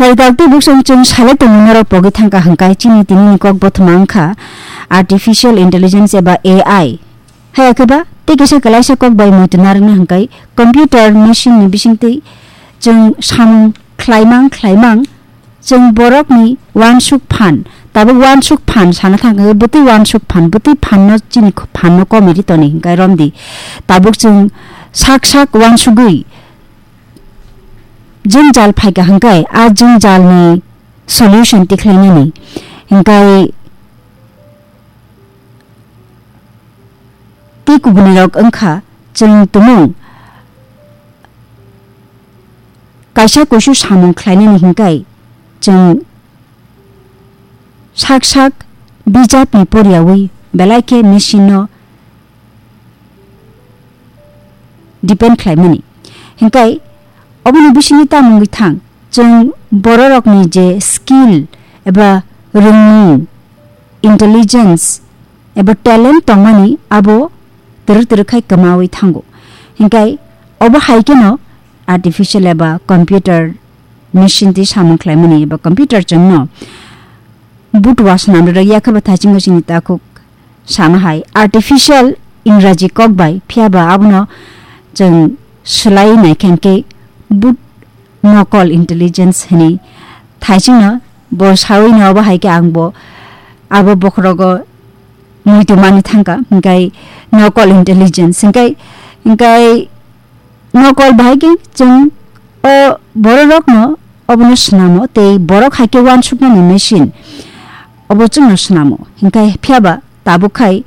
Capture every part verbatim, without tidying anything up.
Ai dal tei buksong chwng salai tongo norok pogwi thangkha hwnkhe chini tinini kok bothoma wngkha artificial intelligence eba A I. Haya khe ba tei kisa kwlaisa kok bai muitu narwknai hwnkhe computer machine ni bisingtwi chwng samung khlaimang khlaimang chwng borokni uansuk phan, tabuk uansuk phan sana thangkha bwtwi uansuk phan, bwtwi phanno chini phanno komiri toni hwnkhe romdi. Tabuk chwng sak sak uansugwi jwngjal phaikha hwnkhe a jwngjalni solution tikhlainani hwnkhe tei kubunirok wngkha chwng tumung kaisa kuisu samung khlainani hwnkhe chwng sak sak bijapni poriyawi belai khe machine no depend khlaimani. Hingkai oboni bisingni tamungwi thang, chwng bororokni je skill eba rwngmung, intelligence eba talent tongmani abo twrwk twrwk khai kwmawi thango. Hingkai obo hai kheno artificial eba computer machine twi samung khlaimani eba computer chwngno butua swnamrwk ya khe bo thaichingno chini takhuk sama hai artificial Ingraji kok bai, phiya ba abono chwng swlai nai khe hwnkhe but nokol intelligence hwnwi thaichingno bo sawi no obo hai khe ang bo abo bokhorogo muitu mani thangkha, hwnkhe nokol intelligence hwnkhe, hwnkhe nokol bahai khe chwng o bororokno obono swnamo tei borok hai khe uansuknani machine obo chwngno swnamo. Hinkhe phiya ba tabuk khai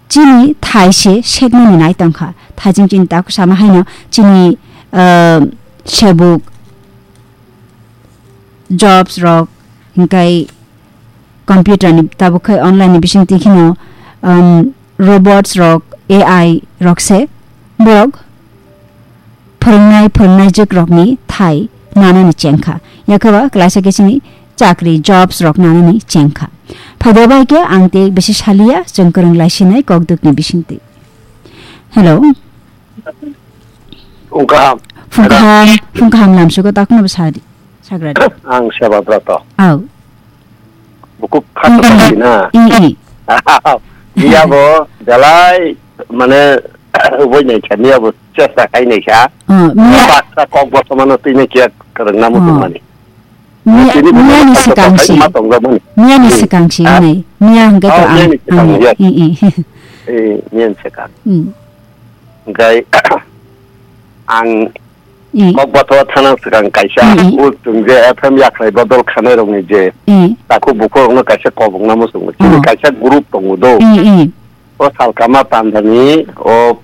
chini thai se sekmani nai tongkha. Thaiching chini takhuk sama haino chini, ah, sebuk jobs rok, hinkai computer ni tabuk khai online ni bising twi kheno, um, robots rok, A I rok se borok phwrwngnai, phwrwngnai jwk rok ni thai nanani chengkha. Yakhe ba klaisa khe chini chakri, jobs rok nanani chengkha. Phaida bai khe ang tei bisi saliya, chwng kwrwng lai sinai kokduk ni bising twi. Hello. Phung kaham. Phung kaham, phung kaham lamsugo takhno bo sadi. Sagradi. Ang Sebadra to. Au. Buku khato tongsi na. I, i. Iya bo, belai, mane, uboi nai kha, iya bo, chesta khai nai kha. Oh, miya. Baksa kok bo samano twi nai kiya kwrwng namo tongmani. Miya, tini bo miyani mane swkang si. Ma tongjakmani. Miyani swkang si, ha? Nai. Miya hwnkhe to ang, miyani swkang, ang, yes. I, i. Eh, miyani swkang. Hmm. Hwnkhe, ang I. Kokbathoro thana swkang kaisa, mm, mm, o chwng je F M yakhrai bodol khanai rokni je, mm, takhuk bukhuk rokno kaisa kobokna muchungo. Chini, oh, kaisa group tongo do. Mm, mm. O salkama pandani o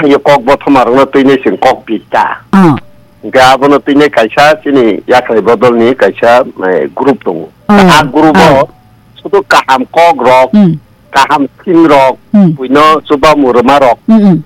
yo kokbothoma rokno twinai chwng kok pita. Oh. Hwnkhe abono twinai kaisa chini yakhrai bodolni kaisa, eh, group tongo. Oh. A group o, oh, sudu kaham kok rok, mm, kaham theme rok, mm, buino chubamu rwma rok, mm, mm,